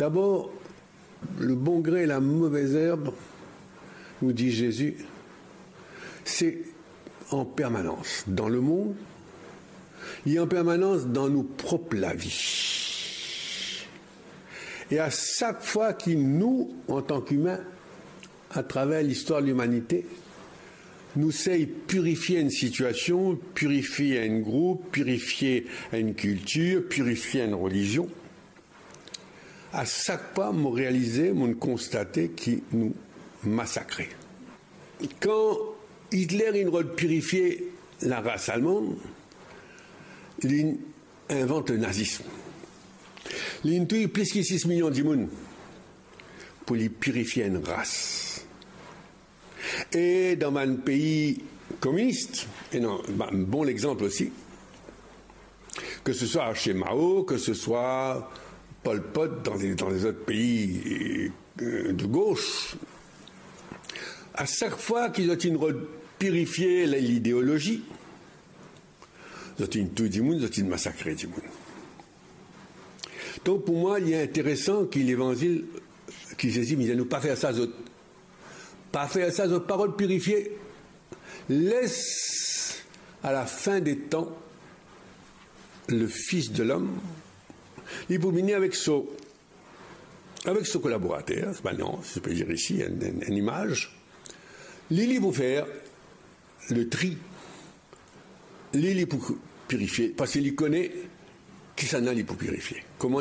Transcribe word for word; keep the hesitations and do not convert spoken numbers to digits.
Dabor, le bon grin e la move zerb, nou dir Zezi, se an permanans dan lemond, li an permanans dan nou prop lavi. E a sak fwa ki nou, antan ki imin, atraver listwar limanite, nou sey pirifie enn sitiasion, pirifie enn group, pirifie enn kiltir, pirifie enn relizion, a sak fwa mo realize, mo konstate ki nou masakre. Kan Hitler inn rod pirifie laras almann, li invant le nazism. Li touy plis ki sis milion dimoun pou li pirifie enn ras. E dan bann pei kominis, e non, ba-, bon lexanp osi, ke se swa chez Mao, ke se swa Pol Pot dan le, dan lezot pei, euh, de gos, a sak fwa ki zot inn rod pirifie le, lideolozi, zot inn touy dimoun, zot inn masakre dimoun. Donk, pou mwa, li interesan ki Levanzil, ki Zezi, li dir nou pa fer sa zot. Pa fer sa zot, pa rod pirifie. Les a la fin de tan, le Fils de l'Homme, li pou vini avek so, avek so kolaborater, bann anz, si je peux dire ici, enn, enn, enn imaz. Li, li pou fer le tri. Li, li pou pirifie, parski li kone kisannla li pou pirifie. Kouma